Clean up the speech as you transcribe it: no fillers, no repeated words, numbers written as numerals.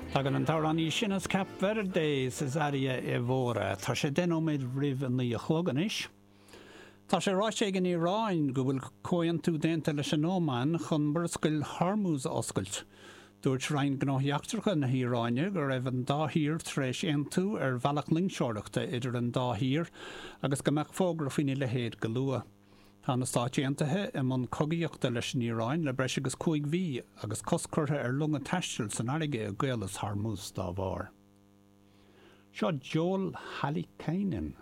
Tagann an t-amhránaí sin as Cape Verde, Cesária Évora. Tá sé 10 nóiméad roimh a 9 a chlog anois. Tá sé ráite ag an Iaráin go bhfuil comhaontú déanta leis an Óman chun Murascaill Hormuz a oscailt. Dúirt Roinn Gnóthaí Eachtracha na hIaráine go raibh an dá thír tar éis aontú ar bhealach loingseoireachta idir an dá thír agus go mbeadh fógra faoina leithéid go luath. Tá na Stáit Aontaithe i mbun cogaíochta leis an Iaráin le breis agus 5 mhí agus cosc curtha ar longa taisteal san fharraige i gCaolas Hormuz dá bharr. Seo Joel Hallikainen.